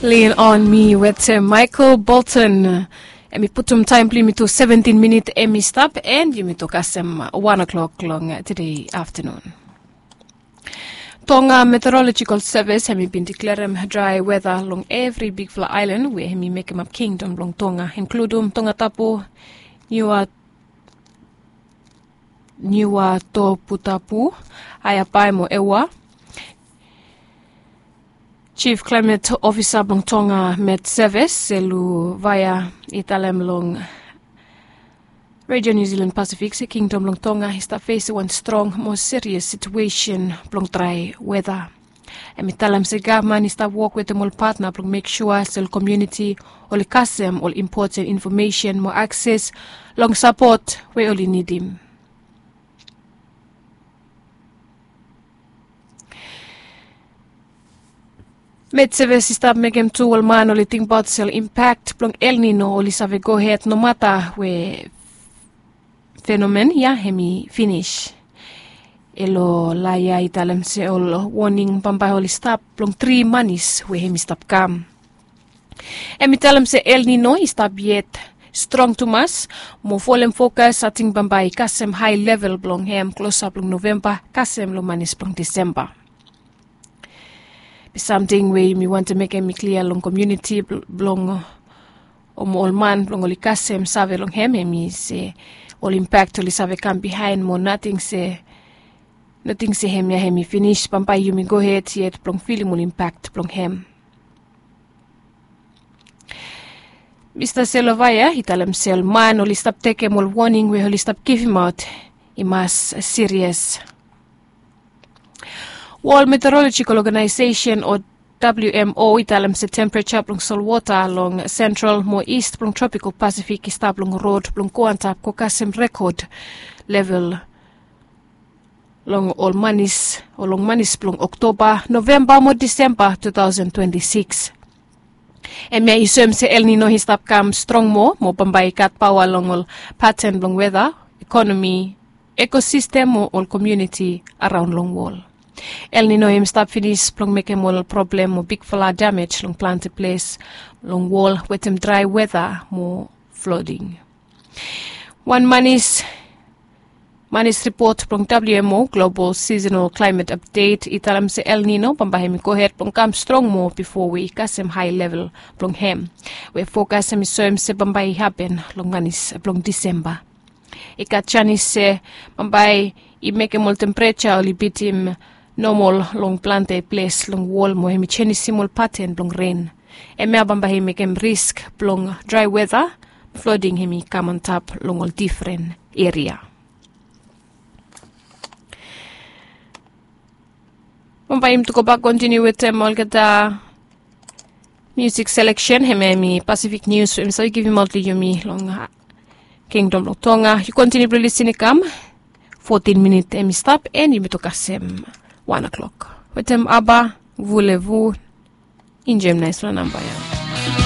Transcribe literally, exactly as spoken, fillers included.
Lean on me wetem Michael Bolton. Em i putum taem blong yumi tu seventin minit em i stap, and yumi tu kasem wan o'clock long tede aftanun. Tonga Meteorological Service em i bin deklerem drae weta long evri bigfala aelan we em i mekemap kingdom blong Tonga, inkludum Tongatapu, Niua Niuatoputapu, Haeapai mo Eua. Chief Climate Officer blong Tonga Met Service, Selu Vaea, i talem long Radio New Zealand Pacific se kingdom blong Tonga i stap fesim wan strong mo serious situesen blong drae weta. Em i talem se gavman i stap wok wetem ol patna blong mek sua se ol komuniti oli kasem ol impoten infomesen mo akses long sapot we oli nidim. Met Service i stap mekem tu ol man oli tingbaot se ol impak blong El Nino oli save gohed nomata we fenomen ya em i finis. Elo laea i talem se ol woning bambae oli stap blong tri manis we em i stap kam. Em i talem se El Nino i stap yet strong tumas, mo folem fokas ating bambae i kasem hae level blong em klosap long Novemba kasem long manis blong Disemba. Be samting we mi wantem mekem i klia long komuniti blong o mo ol man blong oli kasem save long em, em i se ol impak oli save kam bihaen mo nating se nating se em ya em i finis, bambae yumi gohed yet blong filim ol impak blong em. Mista Selovaya i talem se ol man oli stap tekem ol woning we oli stap givimaot i mas sirias. World Meteorological Organization o W M O i talem se tempereja blong solwota long sentral mo ist blong tropikal Pasifik i stap long rod blong go antap go kasem rekod level long ol manis o long manis blong Oktoba, Novemba mo Disemba two thousand twenty-six. Em ya i soem se El Nino i stap kam strong moa mo bambae i gat paoa long ol paten blong weta, ekonomi, ekosistem mo ol komuniti araon long wol. El Nino i stap finis blong mekem ol problem mo bigfala damej long plante ples long wol wetem drae weta mo floding. Wan manis manis ripot blong W M O Global Seasonal Climate Update i talem se El Nino bambae hem i gohed blong kam strong moa bifo we i kasem hae level blong hem we fokas hem i soem se bambae i hapen long manis blong Disemba. I gat janis se bambae i mekem ol tempereja oli bitim nomol long plante ples long wol mo hem i jenisim ol paten blong ren. Hemia bambae i mekem risk blong drae weta, floding hem i kam antap long ol difren eria. Bambae yumi tu gobak kontiniu wetem olgeta musik seleksen, hemia hem i Pasifik Nius we mi save givimaot long yumi long Kingdom blong Tonga. Yu kontiniu blong lisin i kam. Fotin minit hem i stap and yumi tu kasem wan o'clock wetem Aba Vulevu. Injem naesfala namba ya.